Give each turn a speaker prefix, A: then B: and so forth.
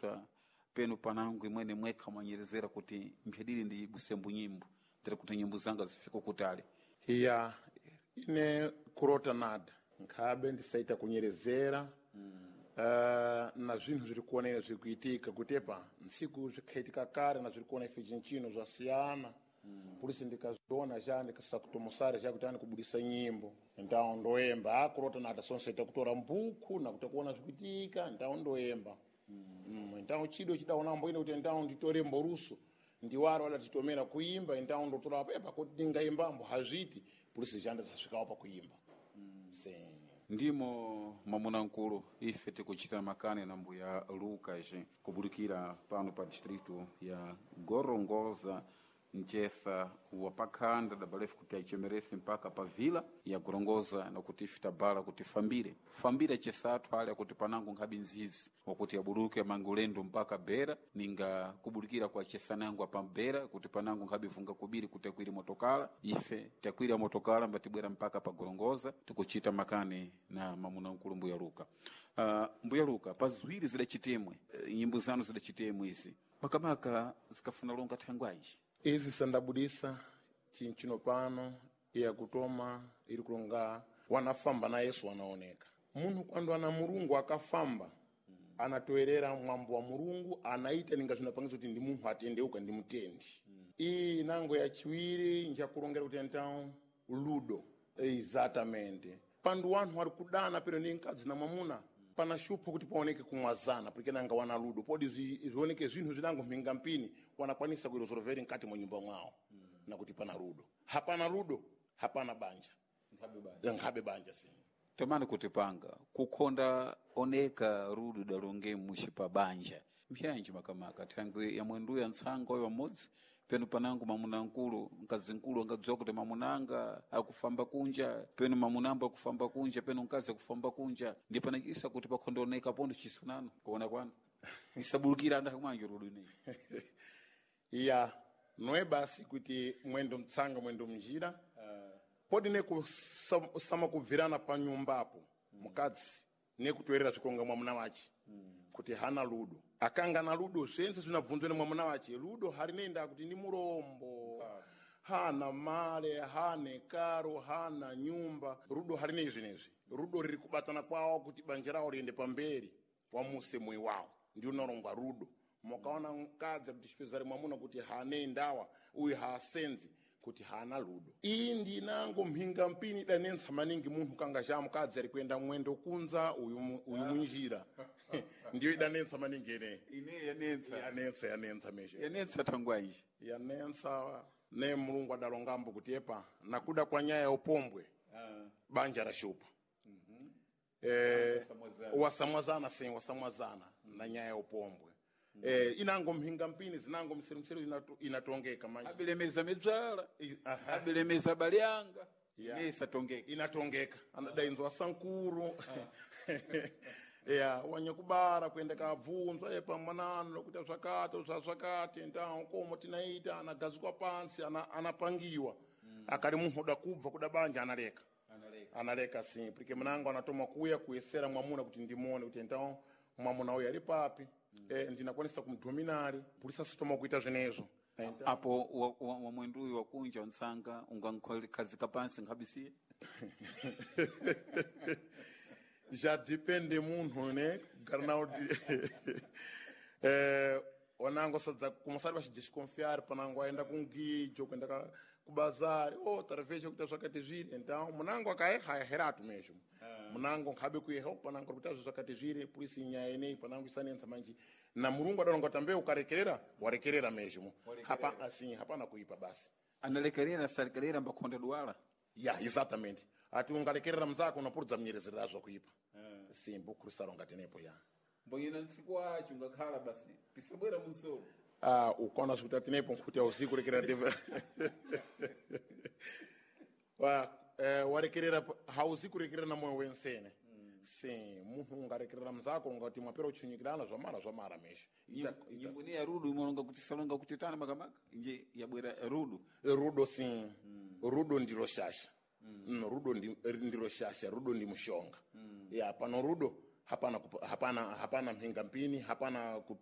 A: ipswa penu panangu imwene mwekha mwanyerezera kuti mphedili ndi busembu nyimbo tiri kuti nyimbo zanga zifike kutali.
B: Iya, ine kurota nada nkhabe ndisaita kunyerezera na zvinthu zviri kuonera zviri kuitika kutepa ntsiku zvikhaitika kare na zviri kuona ife chinchino zvasiyana. Polisi ndikaziona ja ndikasakutomosare ja kuti ani kubudisa nyimbo ndawo ndoemba akurota nada sonsaita kutora mbuku nakuta kuona zvikuitika ndawo ndoemba. Ndawo chido chidaona mboine kuti ndawo nditore mboruso ndiwaro wala titomera kuimba ndawo ndotora apo epa kuti ndingaimbambo hazviti polisi janda zasvikawo pakuimba. Se
A: Ndimo mwamuna nkulu ife tikuchitira makani na mbuya Lucas kubudikira pano pa distrito ya Gorongosa mchesa wa pakhanda dabalefu kuti achemerese mpaka pa vila ya Gorongosa nakuti ife tabala kuti fambire fambire chesathu ale akuti panango nkhabe nzizi wakuti abuluke amangulendo mpaka bera ninga kubulukira kwa chesanango apa bera kuti panango nkhabe vunga kubiri kuti akwire motokala ife takwira motokala mbatibwera mpaka pa Gorongosa tikuchita makani na mamuna nkulu mbuya Luka. Mbuya Luka pa ziwiri zidachitemwe nyimbo zanu zidachitemwe izi makamaka zikafuna longa thangwanji
B: izi sandabudisa chinchino pano iyakutoma iri kulonga wanafamba na Yesu wanaoneka munhu kwando ana Mulungu akafamba anatoerera mwambo wa Mulungu anaita ninga zvinapangisa kuti ndi munthu atendeuka ndi mutendi. Iyi nango yachiwiri njakulongera kuti então ludo exatamente pandu wanthu ari kudana pero ndi mkadzi na mwamuna pana shupho kuti paoneke kumwazana porque nanga wana ludo podi zvioneke zvinthu zvinango mhinga mpini wanakwanisa kuiresolveri mkati mwa nyumba mwawo. Nakuti pana ludo hapana ludo hapana banja nkhabe banja si
A: tomani kuti panga kukhonda oneka rudu dalonge mushi pa banja mpyanji makamaka thangwi ya mwenduya ntsanga oyo amodzi penu panango mamuna nkulu mkazi nkulu angadziwa kuti mamunanga akufamba kunja penu mamunambo akufamba kunja penu mkazi akufamba kunja ndi panachisa kuti pakhonda oneka pondo chisunano kuona kwanu isabulukira anda kumwanji rudu ineyi.
B: Iya noe basi kuti mwendo mtsanga mwendo mnjira podi nekusama kubvirana pa nyumbapo mukadzi nekutoerera zvikonga mwamuna wache kuti hana ludo akanga na ludo zvense zvinabvunzwa nemwamuna wache ludo harinenda kuti ndi murombo hana male hane karo hana nyumba rudo harinei zvinezvi rudo riri kubatana kwawo kuti banja rawo riende pamberi wamuse moyo wawo ndi unorongwa rudo mukaona mukadzi kuti chipezare mwamuna kuti hane ndawa uyu haasenzi kuti hana ludo iyi ndinango mhinga mpini idanentsa maningi munthu kanga cha mukadzi ari kuenda mwendo kunza uyu uyu munjira ndiyo idanentsa maningi ineyi.
A: Ineyi yanentsa.
B: Yanentsa yanentsa meshe
A: yanentsa thangwanji
B: yanentsa ne Mulungu adalongambo kuti epa nakuda kwa nyaya ya upombwe banja rashupa. Wasamwazana sim wasamwazana na nyaya ya upombwe. Inango mhinga mpini zinango mseru inatongeka manje
A: abilemeza midzala abilemeza balyanga ineyi isatongeka
B: inatongeka anadainzwa sankuru ya wanyakubara kuenda kabvunzwa epa mwanano lokuita zvakati zvazvakati ndawo komo tinaita anagazikwa pansi anapangiwa. Akali munthu uda kubva kuda banja analeka analeka sim porque mnango anatoma kuya kuyesera mwamuna kuti ndimuone kuti então mwamuna uyu ali papi. Ndinakwanisa kumdominari polisi asitoma kuita zvenezvo.
A: Apo wa mwenduyu wakunja wantsanga ungankhazika pansi nkhabisiye
B: Já depende munthu ne kugara nawo wanango sadza kumasari vachidesconfiar panango aenda kungijo kuenda kubazari oh tarveja kuita zvakati zviri então munango akaeha aheratu mesmo munango nkhabe kueha panango kuita zvakati zviri polisi nyaya ineyi panango isanentsa manje na Mulungu adalonga tambe ukarekerera warekerera mesmo hapa assim hapana kuipa basi
A: analekerera salekerera mbakhonda duwala
B: ya exatamente ati ungalekerera mzako unapurudza mnyerezera zvakuipa simbu khristu tenepo ya
A: mbonyena ntsiku wacho ungakhala basi pisabwera munsolo
B: ukaona zvikuti atinepo nkhuti ausiku rekerera ndeve warekerera hauzi kurekerera na moyo wensene sim munthu ungarekerera mzako ungati mwapera uchunyikirana zvamara zvamara mesho
A: Nyimbo ni ya rudu imalonga kuti salonga kuti tana makamaka nje yabwera rudu
B: rudo sim rudo ndilo shasha. Rudo ndilo shasha rudo ndi mushonga ya pano rudo hapana hapana hapana mhinga mpini hapana.